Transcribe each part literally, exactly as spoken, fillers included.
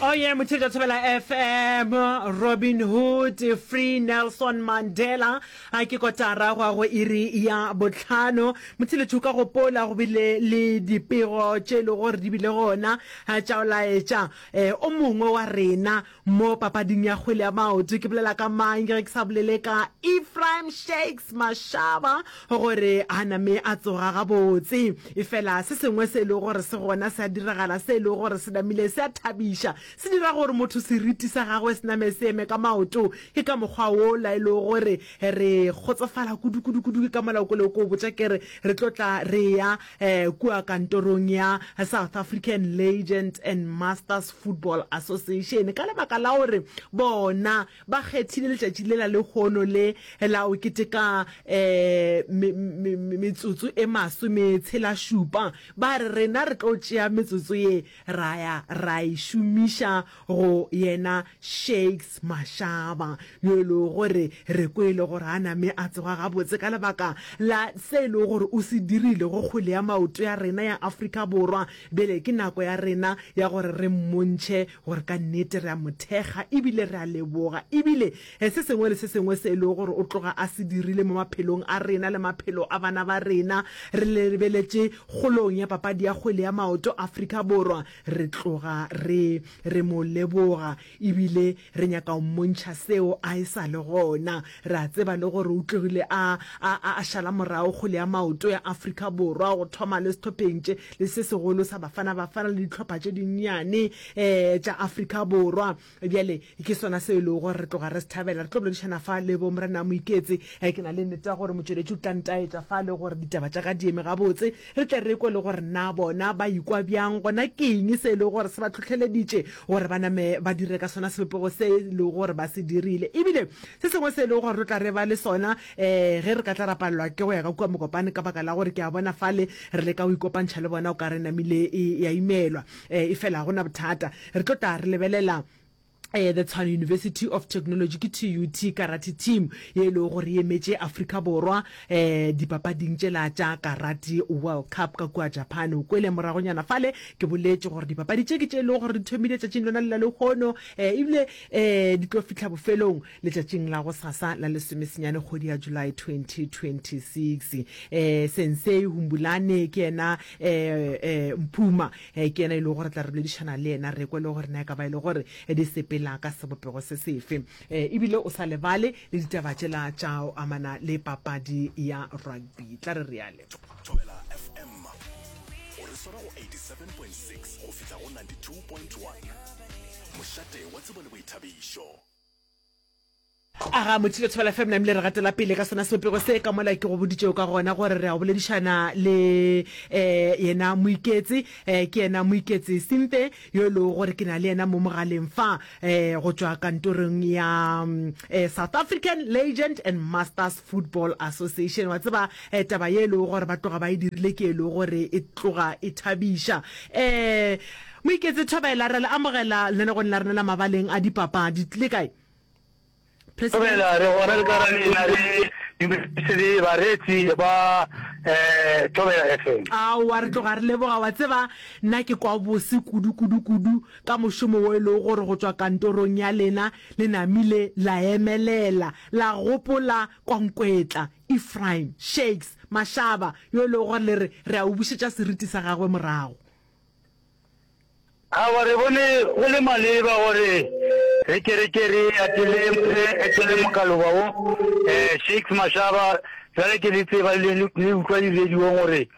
Oh yeah, Motšheletša Thobela F M, Robin Hood, Free Nelson Mandela. A ke kotara go ya go iri ya bohlano. Motšheletši, o ka gopola go bile le dipego tše e lego gore di bile gona tša go laetša eh, o mongwe wa rena mo papading ya kgwele ya maoto. Ke bolela ka mang ge ke sa bolele ka Ephraim Shakes Mashaba, gore a name a tsoga gabotse. Efela se sengwe se e lego gore se gona se a diragala, se e lego gore se namile se a thabiša, se dira gore motho seriti sa gagwe se name se eme ka maoto, ke ka mokgwa wola e lego gore re kgotsofala kudu kudu kudu. Ke ka molao kole ko botša ke re re tlo tla re ya um kua kantorong ya South African Legends and Masters Football Association, ka lebaka la gore bona ba kgethile letšatši lela lehono le la o keteka um metsotso e masometshela šupa. Ba re rena re tlo tšea metsotso ye ra ya ra e šomiša go yena Shakes Mashaba, yo e lego gore re kwele gore a name a tsoga gabotse ka lebaka la se e lego gore o se dirile go kgwele ya maoto ya rena ya Afrika Borwa. Bjale ke nako ya rena ya gore re mmontšhe gore ka nnete re a mo thekga ebile re a leboga, ebile se sengwe le se sengwe se e lego gore o tloga a se dirile mo maphelong a rena le maphelo a bana ba rena, re lebeletše kgolong ya papadi ya kgwele ya maoto Afrika Borwa, re tloga re re mo leboga ebile re nyaka go mmontšha seo a e sa le gona. Re a tseba le gore o tlogile a a a šala morago kgwele ya maoto ya Afrika Borwa, go thoma le sehlopheng tše le se segolo sa Bafana Bafana le dihlopha tše dinnyane um tša Afrika Borwa. Bjale ke sona seo e lego gore re tloga re se thabela. Re tlo boledišana fa le bo Morena Moiketse. Ke na le nnete ya gore motšweletši o tla ntaetša fa le gore ditaba tša ka di eme gabotse, re tle re kwe le gore na bona ba ikwa bjang, gona ke eng se e lego gore se ba hlohleleditše gore ba name ba dire ka sona sebopego se e lego gore ba se dirile. Ebile se sengwe se e lego gore re tla re ba le sona um ge re ka tla ra palelwa ke go ya ka kua Mokopane, ka baka la gore ke a bona fale re leka go ikopantšha le bona o ka re namile e ya imelwa, um efela ga gona bothata, re tlo tla re lebelela eh, the Tshwane University of Technology, ke T U T karate team ye e lego gore e emetše Afrika Borwa eh, dipapading tšela tša Karate World Cup ka kua Japan. O kwele moragonyana fale ke boletše gore dipapadi tše ke tše e lego gore di thomile tšatšing lona le la lehono, eh, ebile eh, di tlo fihla bofelong letšatšing la gosasa la lesomesenyane kgwedi ya July twenty twenty-six. eh, Sensei Humbulane ke yena eh, eh, Mphuma, eh, ke yena e lego gore tla re boledišana le yena, re kwe le gore na e ka ba e le gore di sepela ka sebopego se sefe, eh, ebile o sa lebale le ditaba tšela tša go amana le papadi ya rugby. Tla re reale. Thobela F M, o re swara go eighty-seven point six go fihla go ninety-two point one, mošate wa tsebo le boithabišo. Aga Motšhile, Thobela F M, namile re gatela pele ka sona sebopego se ka mola ke go boditšego ka gona gore re a go boledišana le um yena Moiketse, um ke yena Moiketse Simpe yo e lego gore ke na le yena mo mogaleng fa um go tšwa kantorong ya um South African Legend and Masters Football Association. Wa tseba, um taba ye e lego gore ba tloga ba e dirile ke e lego gore e tloga e thabiša. um Moiketse, thobela, re le amogela lenanegong la rena la mabaleng a dipapadi. Le kae, President? Thobela, re gona le ka ra lena, re dumedise le bareetsi ba um Thobela F M. Aowa, re tloga re leboga. Wa tseba, nna ke kwa bose kudu kudu kudu ka mošomo wo e lego gore go tšwa kantorong ya lena le namile la emelela la gopola Kwankwetla Ephraim Shakes Mashaba, yo e lego gore le re re a o bušetša seriti sa gagwe morago. Aowa, re bone go le maleba gore re ke re ke re atele, re etele mokaloba wo, eh, Shakes Mashaba, bjale ke le tseba le, le utlwa di-radiong gore,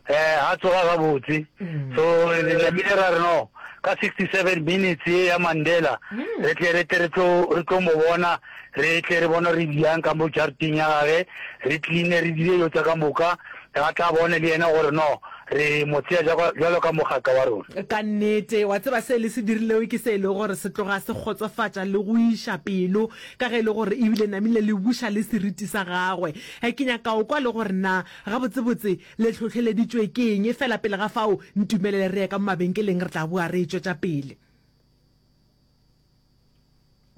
eh, ga tsoga gabotse. So re namile ra re no, ka sixty-seven minutes ye ya Mandela, re tle re tle re tlo, re tlo mo bona, re tle re bone re bjang ka mo jarateng ya gage, re cleane, re dire dilo tša ka moka, ga tla bone le yena gore no, re mo tsea bjalo ka mogaka wa rona. Ka nnete, wa tseba se le se dirilego ke se e lego gore se tloga se kgotsofatša le go iša pelo, ka ge e le gore ebile namile le buša le seriti sa gagwe. Ke nyaka go kwa le gore na gabotsebotse le hlohleleditšwe ke eng. Efela pele ga fao, ntumelele re ye ka mo mabenkeleng, re tla boa re e tšwetša pele.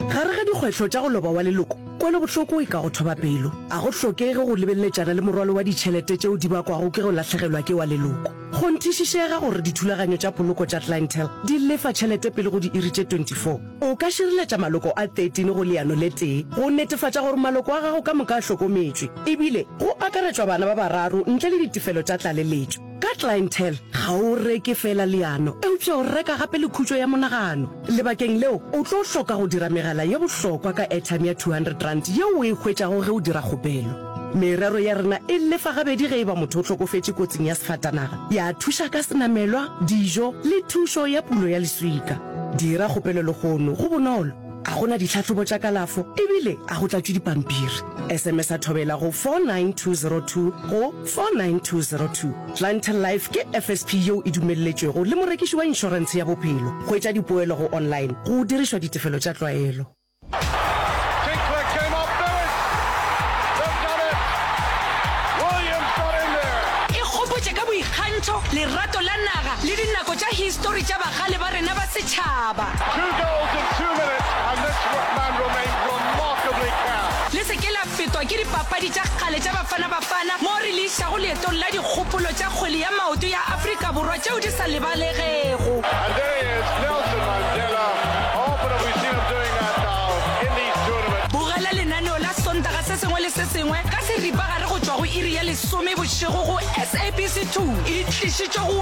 Gare ga dikgwetlho tša go loba wa leloko Kwelobohloko e ka go thoba pelo. A go hlokege go lebeleletšana le morwalo wa ditšhelete tšeo di bakwago ke go lahlegelwa ke wa leloko. Kgonthišišega gore dithulaganyo tša poloko tša Clientele di lefa tšhelete pele go diiri tše twenty four O ka šireletša maloko a thirteen go leano le tee go netefatša gore maloko a gago ka moka a hlokometšwe, ebile go akaretšwa bana ba bararo ntle le ditefelo tša tlaleletšo. Ka Clientele, ga o reke feela leano, eupša o reka gape le khutšo ya monagano. Lebakeng leo, o tlo hloka go dira megala ye bohlokwa ka airtime ya two hundred rand yeo o e hwetšago ge o dira kgopelo. Merero ya rena e lefa gabedi ge e ba motho o hlokofetše kotsing ya sefatanaga, ya thuša ka senamelwa, dijo le thušo ya pulo ya leswika. Dira kgopelo lehono, go bonolo, ga go na ditlhahlobo tša kalafo ebile a go tlatšwe dipampiri. S M S a Thobela go four nine two zero two go four nine two zero two. Clientele Life ke F S P yeo e dumelletšwego le morekiši wa inšorentshe ya bophelo. Hwetša dipoelo go online go dirišwa ditefelo tša tlwaelo. Tinkler came up Lewis. They've done it. Williams got in there. E gopotše ka boikgantšho, lerato la naga le dinako tša histori tša bagale ba rena ba setšhaba. Two goals in two minutes and this man remains remarkably calm. Le se ke la fetwa ke dipapadi tša kgale tša Bafana Bafana moo re le išago leetong la dikgopolo tša kgwele ya maoto ya Afrika Borwa tšeo di sa lebalegego. And there he is, Nelson Mandela. How often have we seen him doing that now in these tournaments? Bogela lenaneo la Sontaga se sengwe le se sengwe ka seripagare go tšwa go iri ya lesome bošego go S A B C two. E tlišitšwe go